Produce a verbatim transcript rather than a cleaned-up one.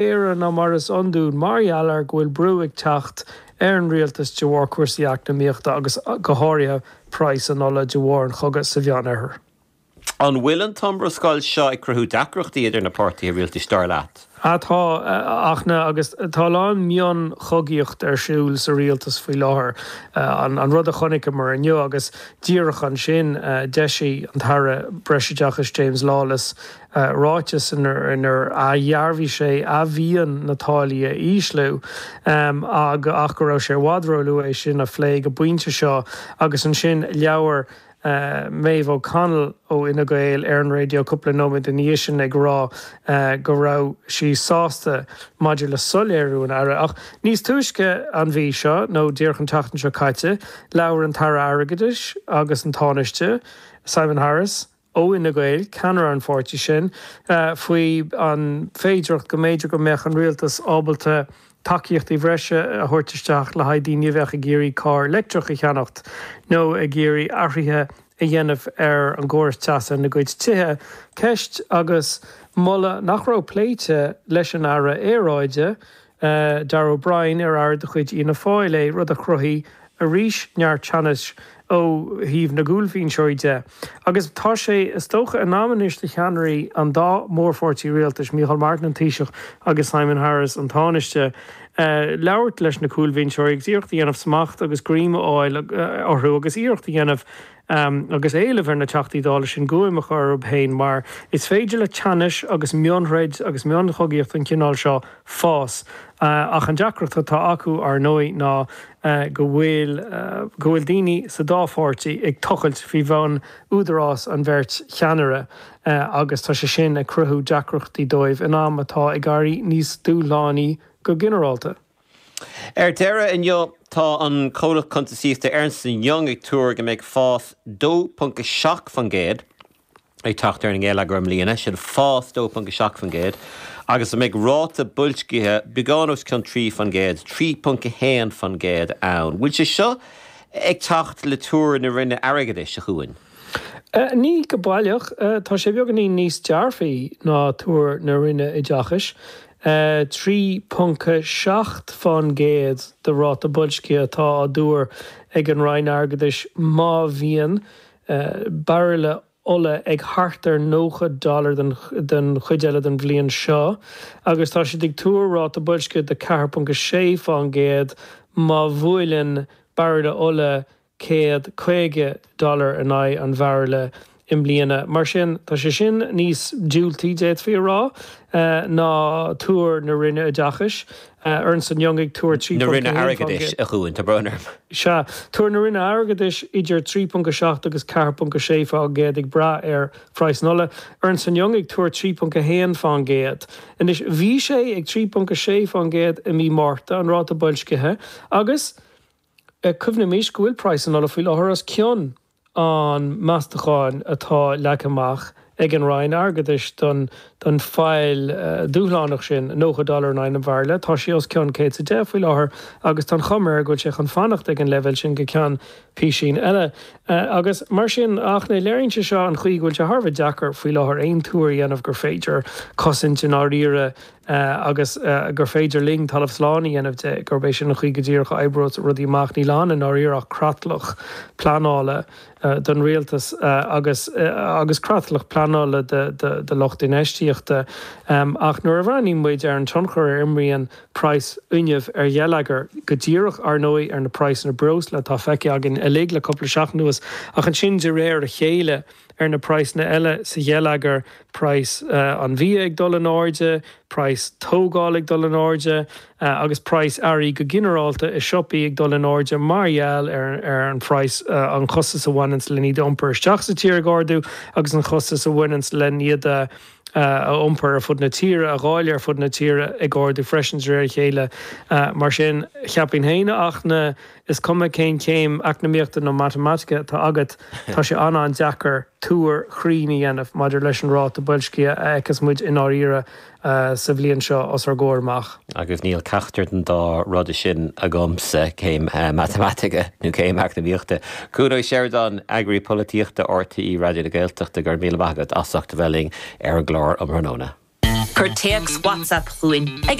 géire ná mar is iondúil mar gheall ar go bhfuil brú ag teacht ar an rialtas de bharr cúrsaí eacnamaíochta agus go háirithe praghas an ola de bharr an chogadh sa Mheánoirthear. An bhfuil an t-iomrascáil seo ag cruthú deacrachtaí idir na páirtithe rialtais, dar leat? Tá, ach na, agus tá a lán mionchogaíocht ar siúl sa rialtas faoi láthair. An rud a chonaiceamar inniu agus díreach ansin d'eisigh an tAire Breisoideachais James Lawless ráiteas inar athdhearbhaigh sé a mhian na táillí a ísliú ach go raibh sé i bhfad róluath é sin a phlé go pointe seo agus ansin labhair Maeve O'Connell ó Fhine Gael ar an raidió cúpla nóiméad ina dhiaidh sin ag rá go raibh sí sásta maidir le soiléiriú an Aire. Ach níos túisce an mhí seo, nó díreach an tseachtain seo caite, labhair an tAire Airgeadais agus an Tánaiste, Simon Harris, ó Fhine Gael, ceannaire an pháirtí sin, faoi an bhféidearthacht go mb'fhéidir go mbeadh an rialtas ábalta tacaíochtaí bhreise a thabhairt isteach le haghaidh daoine a bheadh ag iarraidh carr leictreach a cheannacht nó ag iarraidh athruithe a dhéanamh ar an gcóras teasa ina gcuid tithe. Ceist agus moladh nach raibh pléite leis an Aire Aeráide, Darragh O'Brien, ar aire de chuid Fhianna Fáil é, rud a chruthaigh arís neart teannais ó thaobh na gcúlbhinseoirí de. Agus tá sé, is dócha, in am anois do cheannairí an dá mhórpháirtí rialtais, Micheál Martin, an Taoiseach, agus Simon Harris, an Tánaiste, labhairt leis na cúlbhinseoirí agus iarracht a dhéanamh smacht agus greim a fháil orthu agus iarracht a dhéanamh agus éileamh ar na Teachtaí Dála sin guaim a chur orthu féin mar is féidir le teannais agus mionthroid agus mionchogaíocht den chineál seo fás. Ach an deacracht atá acu, ar ndóigh, ná go bhfuil go bhfuil daoine sa dá pháirtí ag tochailt faoi bhun údarás an bheirt cheannaire agus tá sé sin ag cruthú deacrachtaí dóibh in am atá ag éirí níos dúshlánaí go ginearálta. Ar deireadh, inniu tá an comhlacht cuntasaíochta Ernst and Young ag tuar go mbeidh fás dó ponc a seacht faoin gcéad ag teacht ar an ngeilleagar i mbliana, sin fás dó ponc a seacht faoin gcéad, agus go mbeidh ráta boilscithe beagán os cionn trí faoin gcéad, trí ponc a haon faoin gcéad ann. Bhfuil sé seo ag teacht le tuar na Roinne Airgeadais, a Chuain? Ní go baileach. Tá sé beagáinín níos dearfaí ná tuar na Roinne Oideachais. trí ponc seacht faoin gcéad de ráta boilscithe atá á dtuar ag an Roinn Airgeadais má bhíonn bairille ola ag thart ar nócha dollar den chuid eile den bhliain seo agus tá siad ag tuar ráta boilscithe de ceathair ponc sé faoin gcéad má bhuaileann bairille ola céad caoga dollar in aghaidh an bhairille i mbliana. Mar sin, tá sé sin níos diúltaí, d'fhéadfaí a rá, ná tuar na Roinne Oideachais. Ernst and Young ag tuar trí Na ponc Roinne a haon faoin Airgeadais, gcéad. a Chuain, tá brón orm. Sea, tuar na Roinne Airgeadais idir trí ponc a seacht agus ceathair ponc a sé faoin gcéad ag brath ar phraghas an ola. Ernst and Young ag tuar trí ponc a haon faoin gcéad. Anois, bhí sé ag trí ponc a sé faoin gcéad i mí Márta, an ráta boilscithe, agus cuimhnímis go bhfuil praghas an ola faoi láthair os cionn an meastacháin atá leagtha amach ag an Roinn Airgeadais don don fhaill dúshlánach sin, nócha dollar in aghaidh an bhairille. Tá sé os cionn céad is a deich faoi láthair agus tá an chuma air go bhfuil sé chun fanacht ag an leibhéal sin go ceann písín eile. Agus mar sin, ach ní léiríonn sé seo an chaoi go bhfuil sé thar a bheith deacair faoi láthair aon tuar a dhéanamh gur féidir cosaint i ndáiríre agus gur féidir linn talamh slán a dhéanamh de gurb é sin an chaoi go díreach a oibreos rudaí amach. Níl ann i ndáiríre ach creatlach pleanála don rialtas agus agus creatlach pleanála do lucht infheistíochta. Ach nuair a bhreathnaíonn muid ar an tionchar a imríonn praghas fuinnimh ar gheilleagar, go díreach, ar ndóigh, ar na praghsanna breosla atá feicthe againn uilig le cúpla seachtain anuas, ach ansin de réir a chéile ar na praghsanna eile sa gheilleagar, praghas an bhia ag dul in airde, praghas tógála ag dul in airde agus praghas earraí go ginearálta i siopaí ag dul in airde mar gheall ar ar an phraghas, an chostas a bhaineanns len iad a iompar isteach sa tír ag ardú agus an chostas a bhaineanns len iad a a iompar ar fud na tíre, a dháileadh ar fud na tíre ag ardú freisin de réir a chéile. Mar sin, cheapfainn féin ach na, is cuma cén chéim eacnamaíochta nó matamaitice atá agat, tá sé an-an-deacair tuar chruinn a dhéanamh maidir leis an ráta boilscithe a fheicfeas muid i ndáiríre sa bhliain seo os ár gcomhair amach. Agus níl ceachtar den dá rud sin agamsa, céim matamaitice nó céim eacnamaíochta. Cuan Ó Seireadáin, Eagraí Polaitíochta RTÉ Raidió na Gaeltachta, go raibh míle maith agat as ucht a bheith linn ar an gclár um thráthnóna. Cuir téacs WhatsApp chugainn ag